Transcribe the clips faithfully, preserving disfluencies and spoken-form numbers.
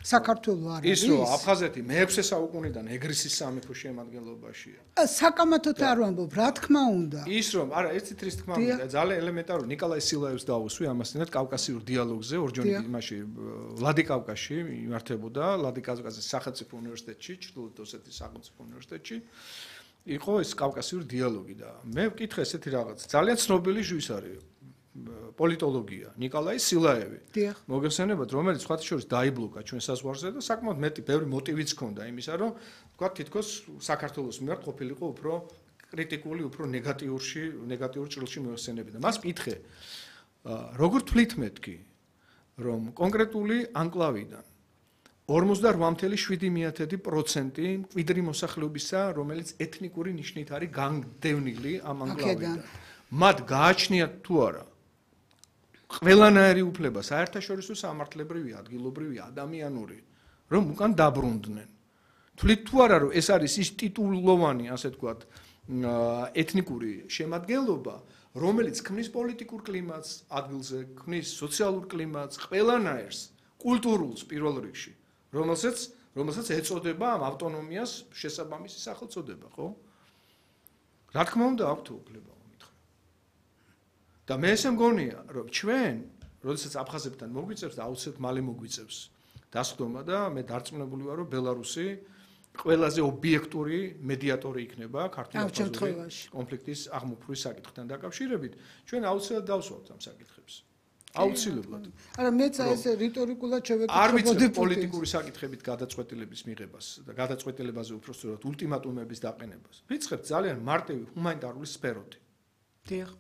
საქართველო არ არის? ის რომ აფხაზეთი მეექვსე საუკუნიდან ეგრისის სამეფოს შემადგენლობაშია. საკამათოდ არ ვამბობ, რა თქმა უნდა. ის რომ არა, ერთით რის თქმა უნდა, ძალიან ელემენტარული ნიკოლაი სილაევს დავუსვი ამასთანავე კავკასიურ დიალოგზე, ორჯონი იმაში ვლადიკავკაზში იმართებოდა, ვლადიკავკაზის სახელმწიფო უნივერსიტეტში, ჩრდილოეთ ოსეთის სახელმწიფო უნივერსიტეტში. იყო ეს კავკასიური დიალოგი და მე ვკითხე ესეთი რაღაც. ძალიან ცნობილი ჟუის არის პოლიტოლოგია, ნიკოლაი სილაევი. მოგეხსენებათ, რომელიც სხვათა შორის დაიბლოკა ჩვენ საზღვარზე და საკმაოდ მეტი ბევრი მოტივიც ჰქონდა იმისა, რომ თქვა თითქოს საქართველოს მიმართ ყოფილიყო უფრო კრიტიკული, უფრო ნეგატიურში, ნეგატიურ ჭრილში მოიხსენებოდა. მას ვკითხე, როგორ თვლით მეთქი, რომ კონკრეტული ანკლავიდან ორმოცდარვა წუთი შვიდი პროცენტი მკვიდრი მოსახლეობისა, რომელიც ეთნიკური ნიშნით არის განდევნილი ამ ანკლავიდან. მათ გააჩნიათ თუ არა ყველანაირი უფლება, საერთაშორისო სამართლებრივი, ადგილობრივი, ადამიანური, რომ უკან დაბრუნდნენ. თვლით თუ არა, რომ ეს არის ის ტიტულოვანი, ასე ვთქვათ, ეთნიკური შემადგენლობა, რომელიც ქმნის პოლიტიკურ კლიმატს ადგილზე, ქმნის სოციალურ კლიმატს, ყველანაირს, კულტურულს პირველ რიგში, რომელსაც რომელსაც ეწოდება ამ ავტონომიას შესაბამისი სახელწოდება, ხო? რა თქმა უნდა, აქვთ უფლება. და მე ესე მგონია, რომ ჩვენ, როდესაც აფხაზებთან მოგვიწევს და აუცილებლად მალე მოგვიწევს დასხდომა და მე დარწმუნებული ვარ, რომ ბელარუსი ყველაზე ობიექტური მედიატორი იქნება ქართულ-აფხაზური კონფლიქტის აღმოფხვრვის საკითხთან დაკავშირებით, ჩვენ აუცილებლად დავსვავთ ამ საკითხებს. აუცილებლად. არა, მეც ეს რიტორიკულად შევეკითხებოდი. არ ვიცი პოლიტიკური საკითხებით გადაწყვეტილების მიღებას და გადაწყვეტილებაზე უпростоრად ულტიმატუმების დაყენებას. ვიწყებთ ძალიან მარტივი ჰუმანიტარული სფეროთი. დიახ.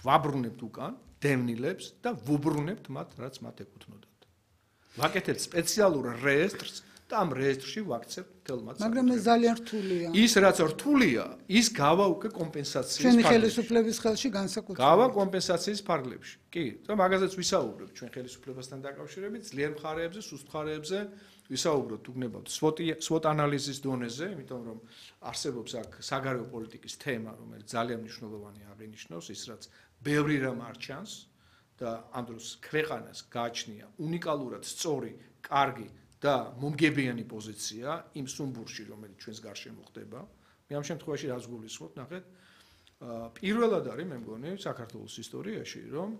ვაბრუნებთ უკან დევნილებს და ვუბრუნებთ მათ, რაც მათ ეკუთვნოდათ. ვაკეთებთ სპეციალურ რეესტრს და ამ რეესტრში ვაქცევთ მთელ მათ. მაგრამ ეს ძალიან რთულია. ის რაც რთულია, ის გავა უკვე კომპენსაციის ჩვენი ხელისუფლების ხელში განსაკუთრებით. გავა კომპენსაციის ფარგლებში. კი, და მაგაზეც ვისაუბრებთ ჩვენ ხელისუფლებასთან დაკავშირებით, ძლიერ მხარეებზე, სუსტ მხარეებზე ვისაუბროთ უგნებავთ სვოტ ანალიზის დონეზე, იმიტომ რომ არსებობს აქ საგარეო პოლიტიკის თემა, რომელიც ძალიან მნიშვნელოვანი აღინიშნავს, ის რაც ბევრი რამ არ ჩანს და ამ დროს ქვეყანას გააჩნია უნიკალურად სწორი, კარგი და მომგებიანი პოზიცია იმ სუმბურში, რომელიც ჩვენს გარშემო ხდება. მე ამ შემთხვევაში რას გულისხმობ, ნახეთ, პირველად არის მე მგონი საქართველოს ისტორიაში, რომ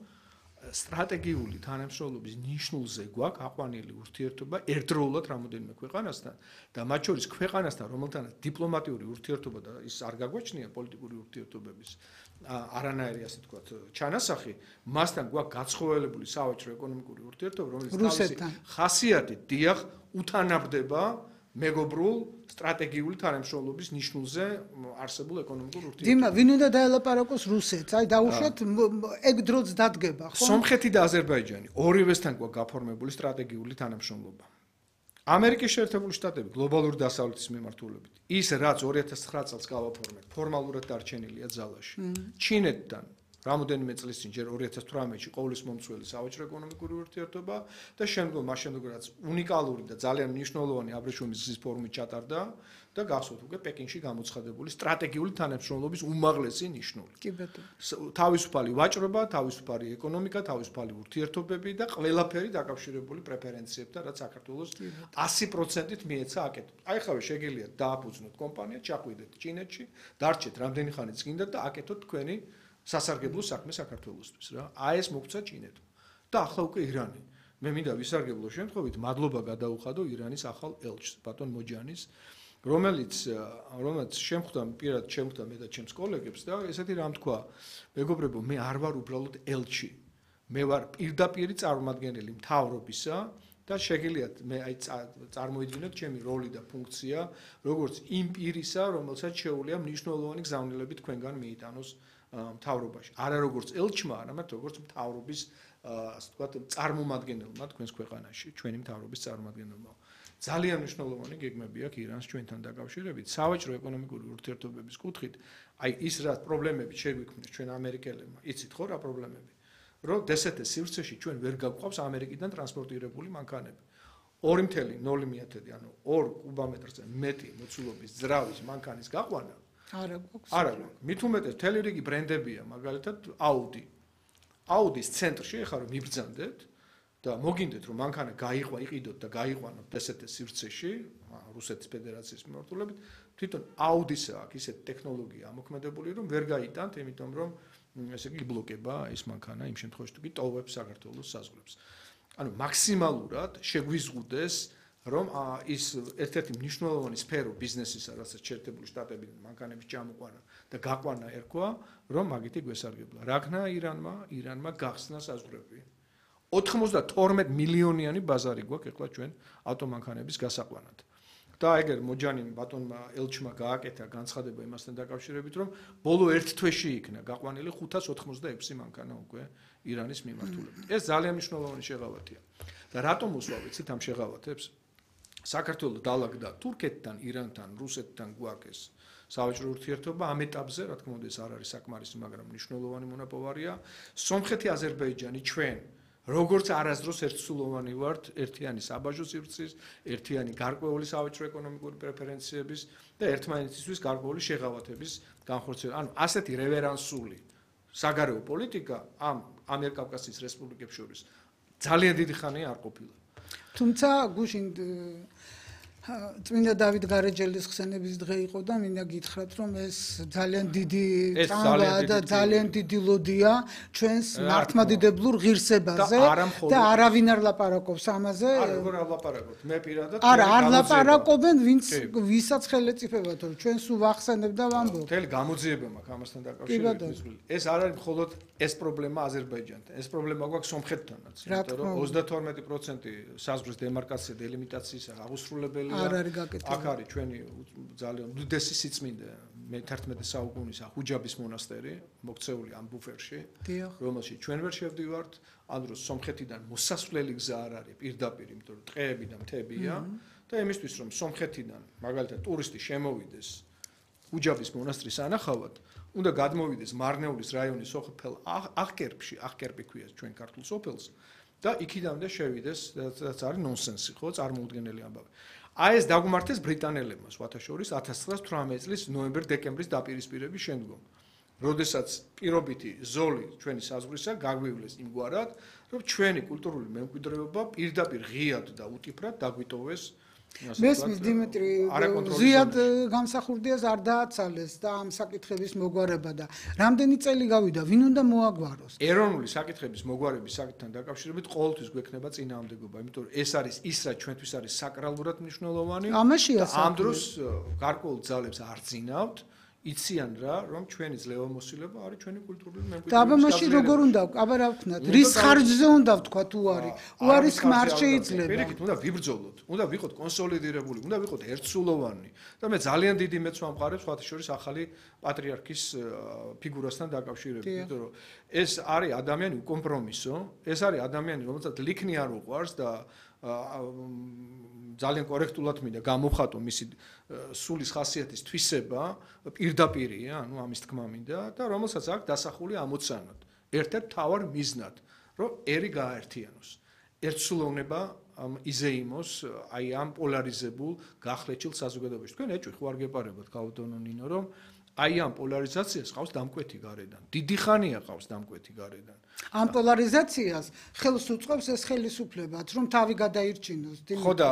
სტრატეგიული თანამშრომლობის ნიშნულზე გვაქვს აყვანილი ურთიერთობა ერთდროულად რამოდენიმე ქვეყანასთან და მათ შორის ქვეყანასთან, რომელთანაც დიპლომატიური ურთიერთობა და ის არ გაგვაჩნია პოლიტიკური ურთიერთობების არანაირი, ასე ვთქვათ, ჩანასახი, მასთან გვაქვს გაცხოველებული სავაჭრო ეკონომიკური ურთიერთობა, რომელიც თავისი ხასიათით დიახ უთანაბდება მეგობრულ სტრატეგიული თანამშრომლობის ნიშნულზე არსებულ ეკონომიკურ ურთიერთობებს. დიმა, ვინ უნდა დაელაპარაკოს რუსეთს? აი დაუშვათ ეგ დროც დადგება, ხო? სომხეთი და აზერბაიჯანი ორივესთან გვაქვს გაფორმებული სტრატეგიული თანამშრომლობა. ამერიკის შეერთებული შტატები გლობალური დასავლეთის მიმართულებით. ის რაც ორი ათას ცხრა წელს გავაფორმეთ, ფორმალურად დარჩენილია ძალაში. ჩინეთთან რამოდენიმე წლის წინ ჯერ ორი ათას თვრამეტში ყოვლის მომცველი სავაჭრო ეკონომიკური ურთიერთობა და შემდგომ მას შემდეგ რაც უნიკალური და ძალიან მნიშვნელოვანი აბრეშუმის გზის ფორუმი ჩატარდა და გახსოვთ უკვე პეკინში გამოცხადებული სტრატეგიული თანამშრომლობის უმაღლესი ნიშნული. კი ბატონო. თავისუფალი ვაჭრობა, თავისუფალი ეკონომიკა, თავისუფალი ურთიერთობები და ყველაფერი დაკავშირებული პრეფერენციებთან, რაც საქართველოს ასი პროცენტით მიეცა აკეთოთ. აი ხავე შეგიძლიათ დააფუძნოთ კომპანია, ჩაყვიდეთ ჩინეთში, დარჩეთ რამდენი ხანიც გინდათ და აკეთოთ თქვენი სასარგებლო საქმე საქართველოსთვის რა. აი ეს მოგცა ჩინეთმა. და ახლა უკვე ირანი. მე მინდა ვისარგებლო შემთხვევით მადლობა გადაუხადო ირანის ახალ ელჩს, ბატონ მოჯანის, რომელიც რომელიც შემხვდა პირად შემხვდა მე და ჩემს კოლეგებს და ესეთი რამ თქვა, მეგობრებო, მე არ ვარ უბრალოდ ელჩი. მე ვარ პირდაპირი წარმომადგენელი მთავრობისა და შეგიძლიათ მე აი წარმოიდგინოთ ჩემი როლი და ფუნქცია, როგორც იმ პირისა, რომელსაც შეუძლია მნიშვნელოვანი გზავნილები თქვენგან მიიტანოს მთავრობაში. არა როგორც ელჩმა, არამედ როგორც მთავრობის, ასე ვთქვათ, წარმომადგენელმა თქვენს ქვეყანაში, ჩვენი მთავრობის წარმომადგენელმა. ძალიან მნიშვნელოვანი გეგმები აქვს ირანს ჩვენთან დაკავშირებით, სავაჭრო ეკონომიკური ურთიერთობების კუთხით. აი ის რა პრობლემები შეგვიქმნეს ჩვენ ამერიკელებმა, იცით ხო რა პრობლემები? რომ დსთ სივრცეში ჩვენ ვერ გაგვყავს ამერიკიდან ტრანსპორტირებული მანქანები. ორი წუთი ნული მეათედი, ანუ ორ კუბომეტრზე მეტი მოცულობის ძრავის მანქანის გაყვანა არა გვაქვს. არა გვაქვს. მით უმეტეს მთელი რიგი ბრენდებია, მაგალითად Audi. Audi-ის ცენტრში ეხლა რომ მიბრძანდეთ და მოგინდეთ რომ მანქანა გაიყვა, იყიდოთ და გაიყვანოთ ესეთ სივრცეში, რუსეთის ფედერაციის მიმართულებით, თვითონ აუდის აქვს ისეთ ტექნოლოგია ამოქმედებული, რომ ვერ გაიტანთ, იმიტომ რომ ესე იგი იბლოკება ეს მანქანა იმ შემთხვევაში თუ კი ტოვებს საქართველოს საზღვრებს. ანუ მაქსიმალურად შეგვიზღუდეს რომ ის ერთ-ერთი მნიშვნელოვანი სფერო ბიზნესისა, რასაც შეერთებული შტატებიდან მანქანების ჩამოყვანა და გაყვანა ერქვა, რომ მაგითი გვესარგებლა. რაგნა ირანმა, ირანმა გახსნა საზღვრები. ოცდათორმეტ მილიონიანი ბაზარი გვაქვს ეხლა ჩვენ ავტომანქანების გასაყვანად. და ეგერ მოჯანიმ ბატონმა ელჩმა გააკეთა განცხადება იმასთან დაკავშირებით, რომ ბოლო ერთ თვეში იქნა გაყვანილი ხუთას ოცდაექვსი მანქანა უკვე ირანის მიმართულებით. ეს ძალიან მნიშვნელოვანი შეღავათია. და რატომ უსვა ვიცით ამ შეღავათებს? საქართველოს დალაგდა თურქეთთან, ირანთან, რუსეთთან გვაქვს სავაჭრო ურთიერთობა ამ ეტაპზე, რა თქმა უნდა, ეს არ არის საკმარისი, მაგრამ მნიშვნელოვანი მონაპოვარია. სომხეთი, აზერბაიჯანი, ჩვენ როგორც არასდროს ერთსულოვანი ვართ ერთიანი საბაჟო სივრცის, ერთიანი გარკვეული სავაჭრო ეკონომიკური პრეფერენციების და ერთმანეთისთვის გარკვეული შეღავათების განხორციელება. ანუ ასეთი რევერანსული საგარეო პოლიტიკა ამ ამიერკავკასიის რესპუბლიკებს შორის ძალიან დიდი ხანია არ ყოფილა. თუმცა გუშინ წმინდა დავით გარეჯელის ხსენების დღე იყო და მინდა გითხრათ რომ ეს ძალიან დიდი წამბაა და ძალიან დიდი ლოდია ჩვენს მართლმადიდებლურ ღირსებაზე და არავინ არ ლაპარაკობს ამაზე. არა, როგორ არ ლაპარაკობთ? მე პირადად არა, არ ლაპარაკობენ, ვინც ვისაც ხელეწიფებათ, რომ ჩვენ სულ ვახსენებ და ვამბობ. მთელი გამოძიება მაქვს ამასთან დაკავშირებით. ეს არ არის მხოლოდ ეს პრობლემა აზერბაიჯანთან, ეს პრობლემა გვაქვს სომხეთთანაც, იმიტომ რომ ოცდათორმეტი პროცენტი საზღვრის დემარკაცია დელიმიტაციის აღუსრულებელი არ არის გაკეთებული. აქ არის ჩვენი ძალიან უდიდესი სიწმინდე მეთერთმეტე საუკუნის ხუჯაბის მონასტერი, მოქცეული ამ ბუფერში, რომელშიც ჩვენ ვერ შევდივართ, ან რომ სომხეთიდან მოსასვლელი გზა არ არის პირდაპირ, იმიტომ რომ ტყეები და მთებია და იმისთვის რომ სომხეთიდან მაგალითად ტურისტი შემოვიდეს ხუჯაბის მონასტრის ანახავად, უნდა გადმოვიდეს მარნეულის რაიონის სოფელ ახკერპში, ახკერპი ქვია ჩვენ ქართულ სოფელს და იქიდანვე შევიდეს, რაც არის ნონსენსი, ხო, წარმოუდგენელი ამბავი. აი ეს დაგმართეს ბრიტანელებმა სხვათა შორის ათას ცხრაას ოცდაოთხი წლის ნოემბერ-დეკემბრის დაპირისპირების შემდგომ. როდესაც პირობითი ზოლი ჩვენი საზღვრისა გაგვივლეს იმგვარად, რომ ჩვენი კულტურული მემკვიდრეობა პირდაპირ ღიად და უტიფრად დაგვიტოვეს. მესმის დიმიტრი ზიად გამსახურდიას არ დააცალეს და ამ საკითხების მოგვარება და რამდენი წელი გავიდა, ვინ უნდა მოაგვაროს? ეროვნული საკითხების მოგვარების საკითხთან დაკავშირებით ყოველთვის გვექნება წინააღმდეგობა, იმიტომ რომ ეს არის ის, რაც ჩვენთვის არის საკრალურად მნიშვნელოვანი. ამაშია ამ დროს გარკვეულ ძალებს არ ძინავთ. იციან რა, რომ ჩვენი ძლევამოსილება არის ჩვენი კულტურული მემკვიდრეობის. და აბა მაშინ როგორ უნდა, აბა რა ვქნათ, რის ხარჯზე უნდა ვთქვა თუ არის? უარის ხმა არ შეიძლება. პირიქით, უნდა ვიბრძოლოთ, უნდა ვიყოთ კონსოლიდირებული, უნდა ვიყოთ ერთსულოვანი. და მე ძალიან დიდი მეც ვამყარებ სხვათა შორის ახალი პატრიარქის ფიგურასთან დაკავშირებით, იმიტომ რომ ეს არის ადამიანი უკომპრომისო, ეს არის ადამიანი, რომელსაც ლიქნი არ უყვარს და ძალიან კორექტულად მინდა გამოვხატო მისი სულის ხასიათის თვისება პირდაპირია, ანუ ამის თქმა მინდა და რომელსაც აქვს დასახული ამოცანად, ერთ-ერთ მთავარ მიზნად, რომ ერი გააერთიანოს. ერთსულოვნება იზეიმოს აი ამ პოლარიზებულ გახლეჩილ საზოგადოებაში. თქვენ ეჭვი ხო არ გეპარებათ გაუტონო ნინო, რომ აი ამ პოლარიზაციას ყავს დამკვეთი გარედან. დიდი ხანია ყავს დამკვეთი გარედან. ამ პოლარიზაციას ხელს უწყობს ეს ხელისუფლებაც, რომ თავი გადაირჩინოს. ხო და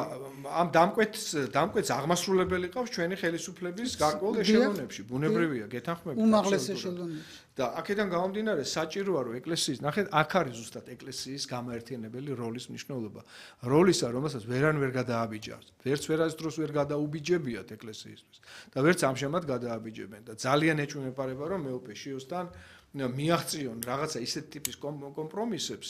ამ დამკვეთს დამკვეთს აღმასრულებელი ყავს ჩვენი ხელისუფლების გარკვეულ ეშელონებში. ბუნებრივია, გეთანხმებით. უმაღლეს ეშელონებში. და აქედან გამომდინარე საჭიროა რომ ეკლესიის, ნახეთ, აქ არის ზუსტად ეკლესიის გამაერთიანებელი როლის მნიშვნელობა. როლისა, რომელსაც ვერან ვერ გადააბიჯავს. ვერც ვერას დროს ვერ გადაუბიჯებიათ ეკლესიისთვის. და ვერც ამჟამად გადააბიჯებენ და ძალიან ეჭვმეპარება რომ მეუფე შიოსთან მიაღწიონ რაღაცა ისეთ ტიპის კომპრომისებს,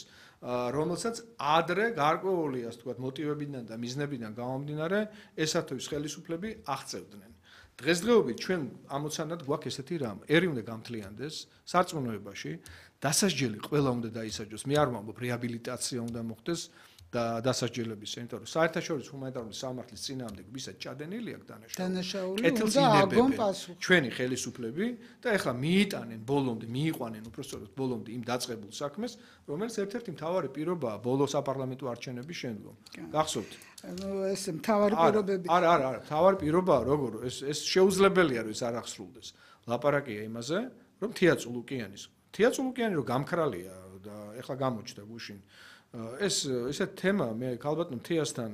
რომელსაც ადრე გარკვეული, ასე ვთქვათ, მოტივებიდან და მიზნებიდან გამომდინარე ესათვის ხელისუფლები აღწევდნენ. დღესდღეობით ჩვენ ამოცანად გვაქვს ესეთი რამ, ერი უნდა გამთლიანდეს სარწმუნოებაში, დასასჯელი ყველა უნდა დაისაჯოს. მე არ ვამბობ რეაბილიტაცია უნდა მოხდეს და დასასჯელების, იმიტომ რომ საერთაშორისო ჰუმანიტარული სამართლის წინააღმდეგ ვისაც ჭადენილი აქვს დანაშაული, კეთილს ინებებენ ჩვენი ხელისუფლები და ეხლა მიიტანენ ბოლომდე, მიიყვანენ უпростоროდ ბოლომდე იმ დაწყებულ საქმეს, რომელიც ერთ-ერთი მთავარი პირობაა ბოლო საპარლამენტო არჩევნების შემდგომ. გახსოვთ? ეს მთავარი პირობები. არა, არა, არა, მთავარი პირობაა როგორ ეს ეს შეუძლებელია რომ ეს არ აღსრულდეს. ლაპარაკია იმაზე, რომ თია წულუკიანის, თია წულუკიანი რომ გამქრალია და ეხლა გამოჩნდა გუშინ ეს ესეთ თემა მე ქალბატონ თიასთან